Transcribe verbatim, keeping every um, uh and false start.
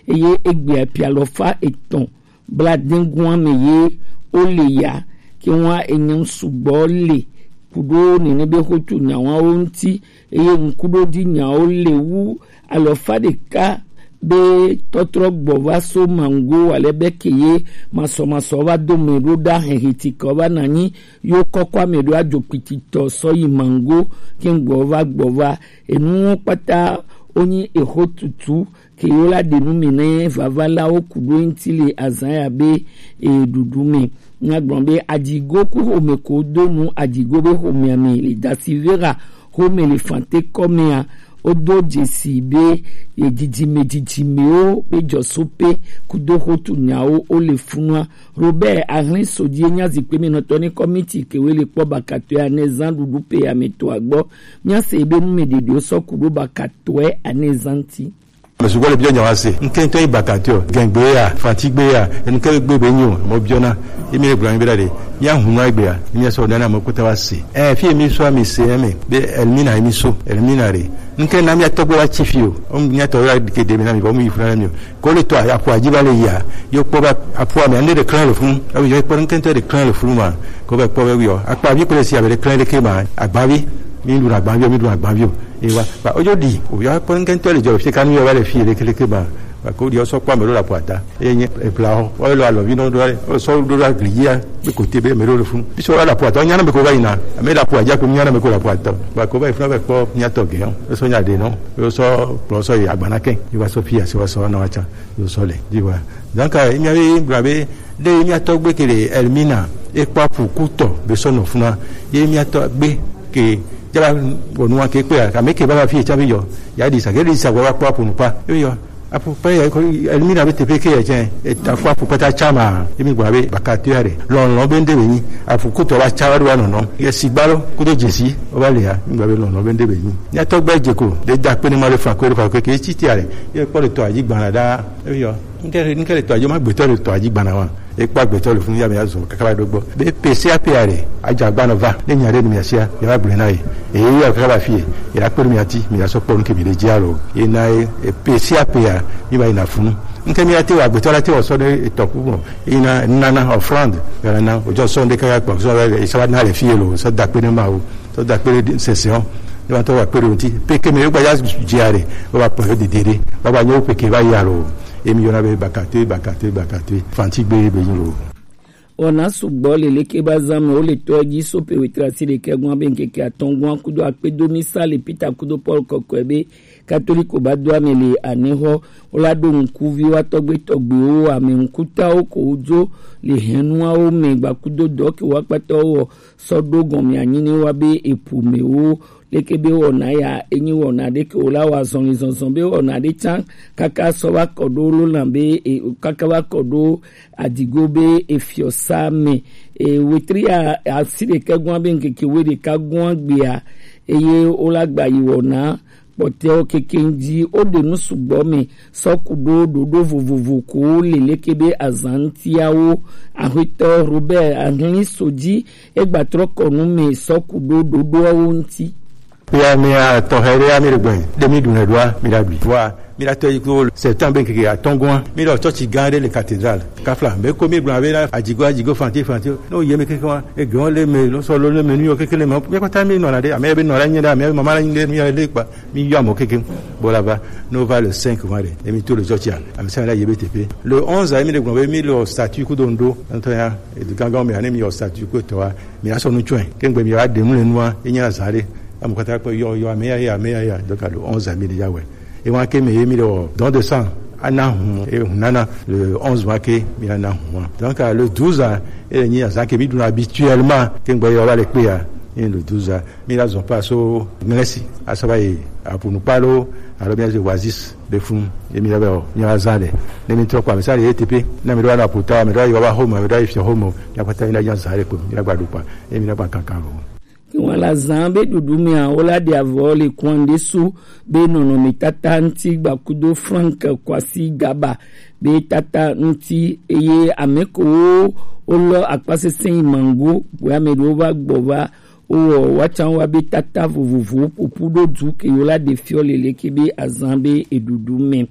eye egbea pi alɔfa etɔn bladɛngun ame ye wo le ya, ke wa enyan sugbɔ le kuɖo nene be xotu nyawawo ŋuti, eye ŋkuɖoɖi nyawo le wu alɔfa ɖeka be tɔtrɔ gbɔ va so mango ale be ke ye masɔmasɔ va do mɛ ɖo ɖa hɛhɛtikɔ va nanyi yo kɔkɔ ame ɖo adzo kpititɔ sɔ yi mango ke gbɔ va gbɔ va enuwo kpata wonyi exo tutu ke yo la ɖe nu mi ne vavalawo ku ɖo ŋuti le azan ya be e ɖuɖu me. Nya gblɔ be adzigo ku xome ko do nu adzigo be xomea me le dasi vera xome le fante kɔmea wodo dzesi be ye dzidzime dzidzimewo be dzɔsope kudo xotu nyawo wo le funua. Robert Ahlin Sodie nya zikpe me nɔtɔ ne kɔmiti ke we le kpɔ bakatɔe ane zan ɖuɖu pe ame to agbɔ. Mia se be nu me ɖeɖewo sɔ ku ɖo bakatɔe ane zan ti. Ame sugbɔ le biɔ nya wa se. Ŋkɛntɔ yi bakatɔ, gɛngbe ya, fantigbe ya, enu ke gbe be nyo, mo biɔna. Emi le gblɔ mi be ɖa ɖe. Mia hun nɔ egbe ya, mia sɔ dana mo kota wa se. Eh, fi emi sɔ mi se eme, be Elmina emi so, Elmina re. Ŋkɛ na mia tɔgbe wa tsi fi o. O mia tɔ la ke de mi na mi, bo mi funa na mi o. Ko le tɔ aƒua dzi va le yia, yo kpɔ va aƒua me, ane ɖe klẽ le funu. Ebi yɔ kpɔ ŋkɛntɔ ɖe klẽ le funu ma. Ko va kpɔ va yɔ. Akpa vi kple si ame ɖe klẽ ɖe ke ma. Agbavi. Mi ɖu agbavi, mi ɖu agbavi o. E wa. Ba ojo ɖi. O yɔ kpɔ ŋkɛntɔ le dzɔ fi kanu yɔ va le fi ɖe ke ɖe ke ma. Ba ko ɖi o sɔ kpɔ ame ɖo le aƒua ta. Eye nye ebla o. O lo alɔ vi nɔ ɖo. O sɔ ɖo ɖo agli ya. Be kote be ame ɖo le funu. Bi sɔ va le aƒua ta. O nyana me ko va yina. Ame le aƒua dzi ko nyana me ko le aƒua ta. Ba ko va yi funa va kpɔ mia tɔ ge o. E sɔ nya ɖe nɔ. Yo sɔ kplɔ sɔ yi agbana kɛ. Yi wa sɔ fi asi wa sɔ na wa tsa. Yo sɔ le. Yi wa. Donc, eh, mia be gblɔ be ɖe mia tɔgbe ke le Elmina e kpɔ apu kutɔ be sɔ nɔ funa. Ye mia tɔgbe ke jala wonu wa ke kpe ya. Kame ke ba fi tsa be yɔ. Ya di sa ke di sa wa kpɔ apu nu pa. Yo yɔ. Apu pa ya ko Elmina be teƒe ke ya tse. E ta kpɔ apu kpata tsa ma. Ye mi gblɔ be bakatɔ ya ɖe. Lɔlɔ be nde be nyi. Apu kutɔ ba tsa wa do wa nɔnɔ. Ye sigba lo kudo dzesi. O ba le ya. Mi gblɔ be lɔlɔ be nde be nyi. Mia tɔgbe dze ko. De da kpe ne ma le fa ko le fa ko ke tsi tia le. Ye kpɔ le tɔ adzi gbana ɖa. Ebi yɔ. Ŋkɛ ŋkɛ le tɔ adzi ma gbetɔ le tɔ adzi gbana wa. Ekpɔ agbetɔ le funu ya me azɔ kaka va ɖo gbɔ. Be pese ape ya le. Adza gbana va. Ne nya ɖe nu mia sia. Ya va gblɔ na ye. Eye ya kaka va fie. Ya kpɔ nu mia ti. Mi ya sɔ kpɔ nu ke mi le dzi alo. Ye na ye pese ape ya. Mi va yi na funu. Ŋkɛ mi ya te wa agbetɔ la te wa sɔ ɖe etɔ ku mɔ. Ye na nana offrande. Ya na o jɔ sɔ ɖe kaka kpɔ sɔ ya sa va na le fie lo. Sɔ da kpe ne ma o. Tɔ da kpe ɖe sese o. Ne wa tɔ wa kpe ɖe ŋuti. Peke me yogba ya dzia ɖe. Wa kpɔ yo dede ɖe. Wa ba nyo peke va ya lo. Emi yona be bakate bakate bakate. Fanti gbe be lo. Wɔna sugbɔ le leke ba zan me wo le tɔ dzi so pe wetre asi ɖekɛ gɔn be ŋkeke atɔn gɔn kudo akpedo mi sa le Peter kudo Paul kɔkɔe be Katoliko ba do ame le anexɔ wo la ɖo ŋkuvi wa tɔgbe tɔgbewo ame ŋkutawo ko wo dzo le hɛnuawo me gbakudo dɔ ke wa kpata wo sɔ ɖo gɔme anyi ne wa be epu me wo leke be wɔna ya enyi wɔna ɖe ke wo la wa zɔnli zɔnzɔn be wɔna ɖe tsan kaka sɔ va kɔ ɖo lo na be e, kaka va kɔ ɖo adigo be efiɔsa me e, wetri ya asi ɖekɛ gɔn be ŋkeke we ɖeka gɔn gbea eye wo la gba yi wɔna kpɔtɛwo kekeŋ dzi woɖe nu sugbɔ me sɔ ku ɖo ɖoɖo vovovo ko le leke be azan ŋutiawo. Axwetɔ Robert Ahlin so dzi egbatrɔ kɔ nu me sɔ ku ɖo ɖoɖoawo ŋuti. Ya mi a tɔxɛ ɖe ya mi ɖe gbɛ ɖe mi ɖu nɛ ɖoa mi ɖa ɖui. Vɔa mi ɖa tɔ yi ko septembre ŋkeke atɔngɔa mi ɖɔ tsɔtsi gã ɖe le cathédrale. Kafla be ko mi gblɔ be na adzigo adzigo fanti fanti ne wo yi eme keke wa egɔn le me lɔsɔ lo le me nu yɔ keke le me mi kpata mi nɔ la ɖe ame be nɔ la nyi ɖe ame be mama la nyi ɖe mi yɔ le kpa mi yɔ ame keke bo la va ne wo va le cinq wa ɖe emi to le tsɔtsi a ame sɛ la yi be teƒe le onze a mi ɖe gblɔ be mi le statut kudo ŋɖo ŋutɔ ya edu gangan me ya ne mi yɔ statut ko tɔ wa mi asɔ nu tsɔe ke ŋgbe mi wa ɖe nu le nua enye azã ɖe ame kpata kpɔ yɔ yɔ ame ya ya ame ya ya donc le onze a mi ɖe ya wɛ. Ewa ke me ye mi le wɔ don de sang ana hun e hun nana le onze mois ke mi na na hun wa. Donc le douze ans e le nyi azan ke mi duna habituellement ke ngbe yo va le kpe ya. E le douze ans mi la zɔn pa so ŋlɛsi asaba ye apunukpalo alo mi aze oasis be fun e mi la be o mi la zan de ne mi trɔ kpa mi sa le E T P na mi do ana puta mi do yo va homo mi do ifia homo ya pata mi la yan zan de ko mi la gba du kpa e mi la gba kankan lo. Ke ŋlɔ la zã be ɖuɖu mea wo la ɖe avɔ le kuan ɖe su be nɔnɔmetata ŋuti gbakudo Frank Kwasi Gaba be tata ŋuti eye ame kowo wolɔ akpasesẽ yi mango bue ame ɖewo va gbɔ va wowɔ woatsa wa be tata vovovowo ƒoƒu ɖo du ke yewo la ɖe fiɔ le leke be azã be eɖuɖu me.